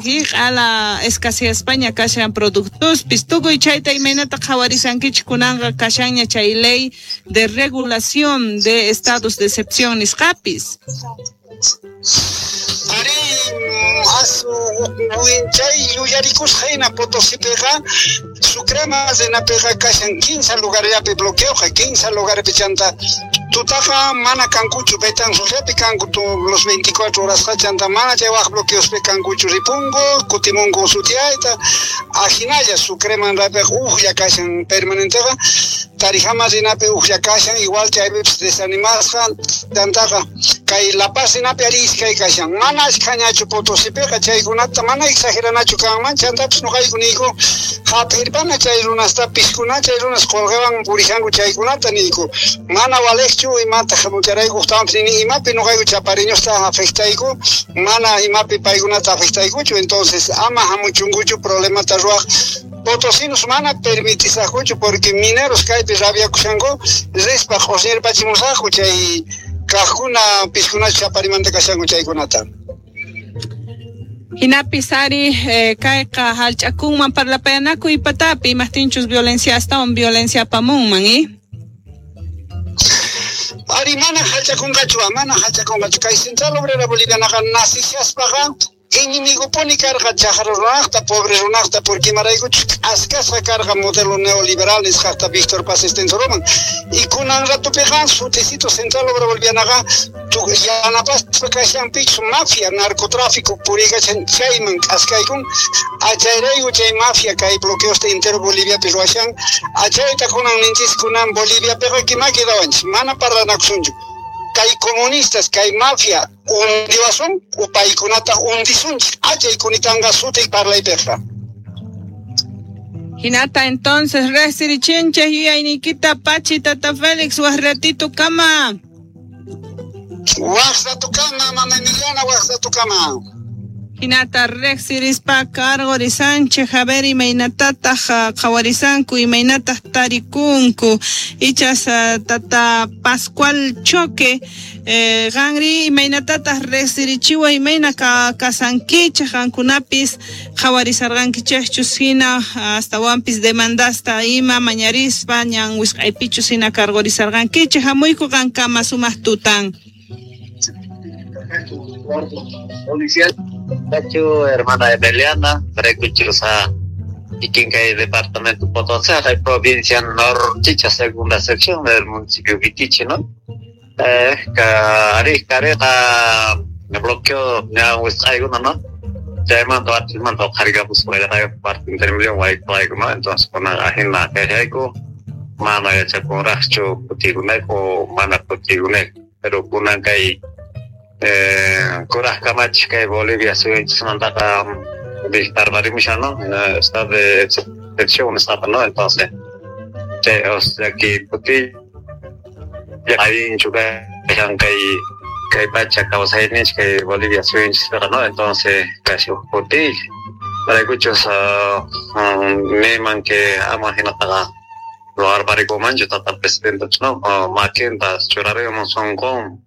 Q'ala escaseaspaña kashan productospis. Tukuy chayta imaynata qhawarisankichik kunanqa kashanña chay ley de regulación de estados de excepción nisqapis. Arí, as chay yuyarikusqa hina Potosipiqa Sucrema rinapiqa kashan 15 lugarllapi bloqueoqa, 15 lugarpi chanta tutaqa mana kankuchu, Betanzosllapi kanku los 24 horasqa, chanta mana chay waj bloqueospi kankuchu, ripunku kutimunku sutiayta, ajinalla Sucreman rapiqa ujlla kashan permanenteqa, Tarijama rinapi ujlla kashan, igual chaypipis desanimasqa, chantaqa kay La Paz rinapi ari iskay kashan, mana ashkhañachu Potosipiqa, chaykunata mana exageranachu kanman, chantapis noqayku niyku hap'irpana chay runasta piskuna, chay runas qolqewan purishanku chaykunata niyku, mana walejchu imata hamucharayku ujtawanpis nini imapi noqayku chapariñosta afectayku, mana imapi paykunata afectaykuchu, entonces ama hamuchunkuchu problemata ruwaj. Potosinos mana permitisaqkuchu porque mineros kaypi rabiakushanku rispa q'osñirpachimusaqku chay kaqkuna piskunachu chaparimanta kashanku chaykunata. Hinapis ari kayqa hallch'akunman parlapayanakuy patapi imaqtinchus violencia astawan violencia apamunman, ¿eh? Ari mana hallch'akunqachu, mana hallch'akunqachu. Kay Central Obrera Bolivianaqa nacishaspaqa enemigopuni karqa chaqra runaqta, pobre runaqta, porque imaraykuchus k'askasqa karqa modelo neoliberal nisqaqta Víctor Paz Estenssoroman. Y kunan ratupiqa suticito Central Obrera Bolivianaqa yanapaspa kashanpichu mafia, narcotráfico puriykachan chayman k'askaykun, achayrayku chay mafia kay bloqueosta entero Boliviapi ruwashan, achayta kunan ninchis kunan Boliviapiqa kima quedawanchis, mana parlanakusunchu. Kay comunistas, kay mafia hundiwasun, upaykunata hundisunchik, achay kunitanqa suti parlaypiqa. Hinata entonces resirichinchik yuyayniykita Pachi Tata Félix waj ratito kama. Waj rato kama, mama Emiliana, waj rato kama. Hinata riqsirispa karqurisanchik, a ver imaynatataq qhawarisanku, imaynataq tarikunku. Ichas Tata Pascual Choque, qanri imaynatataq riqsirichiwa, imayna kasankichik qankunapis qhawarisarqankichikchus hina astawanpis demandasta ima mañarispa ñan wisq'aypichus hina karqurisarqankichik. Hamuyku qankama sumaq tutan. Policial Tacho, hermana Emiliana, Recuchusa, y departamento Potosí, la provincia Norchicha, segunda sección del municipio Vitichi, ¿no? Ari, careta, me bloqueó, ya, pues, alguna, ¿no? Ya mando a ti, mando a cargar, pues, voy a dar parte intermedio, voy a ¿no? Entonces, con la agenda que hay, mana, ya, con racho, putiguneco, mana, putiguneco, pero con una kuraj kamachik kay Bolivia suyunchismantaqa dictarparimushan, ¿no? Estado de excepción nisqaqa, ¿no? Entonces, chay, o sea, que kuti allinchu kashan kay pacha kawsayninchik kay Bolivia suyunchispiqa, ¿no? Entonces, casi uj kuti paraykuchus niman que ama hinataqa ruwarparikumanchu tata presidente, ¿no? Makinta churarimun sunqun.